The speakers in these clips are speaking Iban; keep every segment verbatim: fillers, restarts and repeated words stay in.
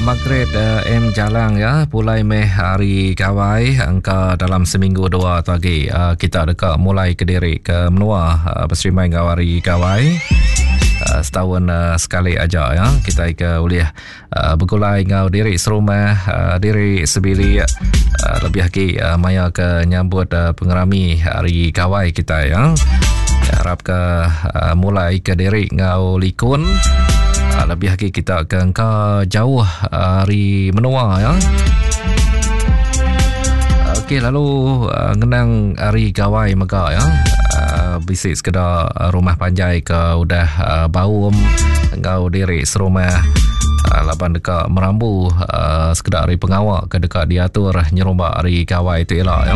Margaret uh, M Jalang ya, pulai meh hari gawai angka dalam seminggu dua tu agi uh, kita deka mulai ke diri ke menua uh, beserimbai enggau hari gawai. Uh, setahun uh, sekali aja ya kita ke ulih uh, begulai enggau diri serumah uh, diri sebilik uh, lebih agi uh, maya ke nyambut uh, pengerami hari gawai kita ya. Harap ke uh, mulai ke diri enggau likun. Uh, lebih lagi kita ke engka jauh hari menua ya. Okey, lalu uh, ngenang hari gawai mega ya. Uh, bisi sekeda rumah panjai ke udah uh, baum enggau diri serumah uh, laban deka merambu uh, sekeda hari pengawa ke deka diatur nyerumba hari gawai tu ila ya.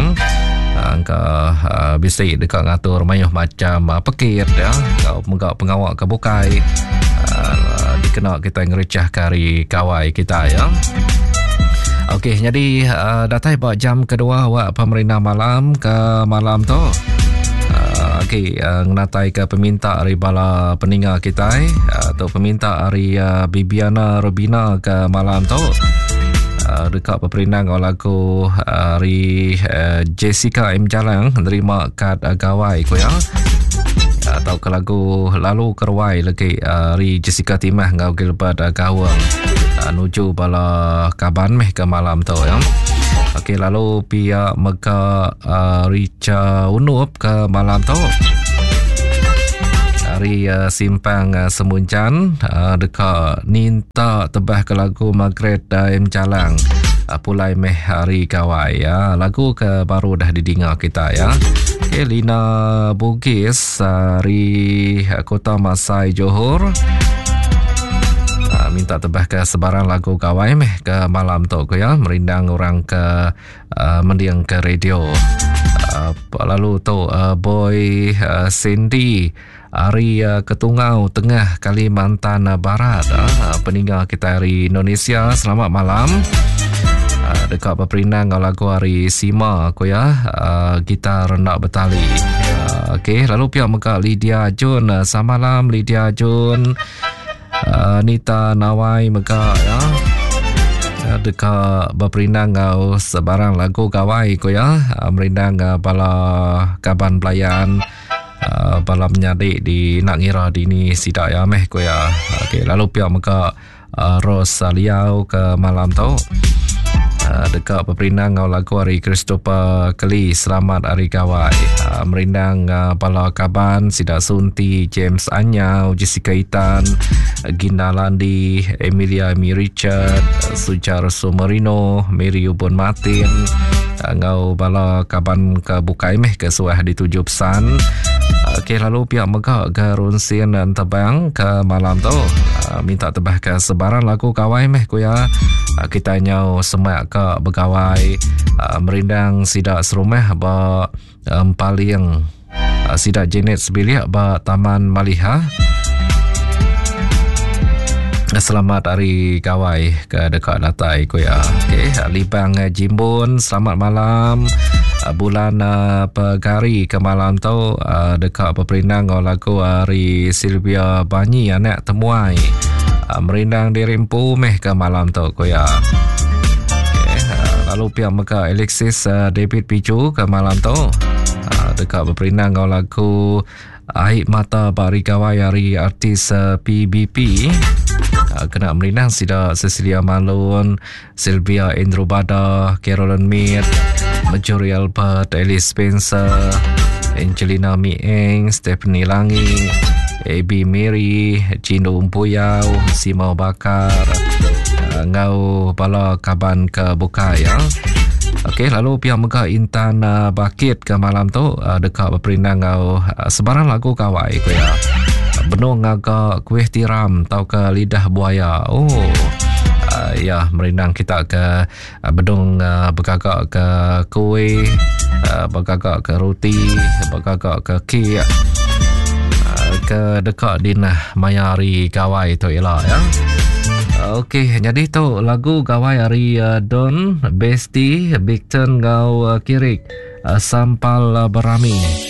Angka uh, bisi deka ngatur mayuh macam uh, pekit ya, enggau mega pengawa ke bukai uh, dikena kita ngericah ke hari gawai kita ya. Okey, jadi uh, datai ba jam kedua awak pemerintah malam ke malam tu. Uh, Okey, uh, ngenatai ke peminta ari bala peninga kita uh, tu peminta ari uh, Bibiana Rubina ke malam tu. Uh, dekat peperindang ngau lagu ari uh, Jessica M Jalang nerima kad uh, gawai ku ya. Atau ke lagu lalu keruai lagi ari Jessica Timah ngau Gilbert uh, Gawang uh, nuju bala kaban meh ke malam tu ya. Okey, lalu pihak mega uh, Richa Unup ke malam tu hari uh, simpang uh, Semuncan uh, dekat ninta tebah ke lagu Margaret uh, M Jalang uh, pulai meh hari gawai ya. Lagu ke baru dah didengar kita ya. Okey, Lina Bugis hari uh, Kota Masai Johor uh, minta tebah ke sebarang lagu gawai meh ke malam tu ke ya, merindang orang ke uh, mendiang ke radio. Uh, lalu tu uh, Boy uh, Cindy hari uh, Ketungau Tengah Kalimantan Barat uh, peninggal kita hari Indonesia, selamat malam. Uh, dekat berperindang ngau lagu hari Sima aku ya, uh, gitar rendak bertali. Uh, okey, lalu pihak mega Lydia Jun, uh, selamat malam Lydia Jun. Uh, Nita Nawai mega ya. Uh, dekat berperindang ngau sebarang lagu gawai ku ya, uh, merindang uh, bala kaban pelayan Uh, bala menyadik di nak ngira di ni sidak ya meh ku ya. Okey, lalu pihak mega uh, Rose Liau ke malam tu uh, dekat berperindang ngau lagu hari Christopher Kelly selamat hari gawai. Uh, merindang uh, bala kaban sidak Sunti, James Anyau, Jessica Itan, Gina Landi, Emilia Mi Richard, Sujar Sumerino, Mary Ubun Martin, ngau bala kaban ke bukai meh ke suah dituju pesan. Okey, lalu pihak mega Garunsin dan Tebang ke malam tu uh, minta tebah ke sebarang lagu gawai meh ku ya. Uh, kita nyau semak ke begawai uh, merindang sidak serumah ba um, paling uh, sidak Janet sebilik ba Taman Maliha. Selamat hari gawai ke dekat datai ku ya. Okey, Libang Jimbun, selamat malam. Bulan uh, Pegari ke malam tu uh, dekat berperindang ngau lagu hari Sylvia Banyi anak temuai. Uh, merindang diri empu meh ke malam tu ku ya. Okey, uh, lalu pihak mega Alexis uh, David Pichu ke malam tu uh, dekat berperindang ngau lagu Air Mata Bari Gawai hari artis uh, P B P. Kena merindang sida Cecilia Malone, Sylvia Andrew Bada, Carolyn Mead, Marjorie Albert, Alice Spencer, Angelina Mieng, Stephanie Langi, Abby Mary, Cino Umpuyau, Simau Bakar, ngau bala kaban ke bukai ya. Okey, lalu pihak mega Intan uh, Bakit ke malam tu uh, dekat berperindang ngau uh, sebarang lagu gawai ku ya. Benung ngagak kuih tiram tau ke lidah buaya. Oh. Uh, ya, merindang kita ke uh, bedung uh, bergagak ke kuih, uh, bergagak ke roti, bergagak ke kek. Uh, ke dekat dinah maya hari gawai tu ialah ya. Okey, jadi tu lagu gawai hari uh, Don Besti Bigton ngau uh, Kirik uh, Sampal uh, Berami.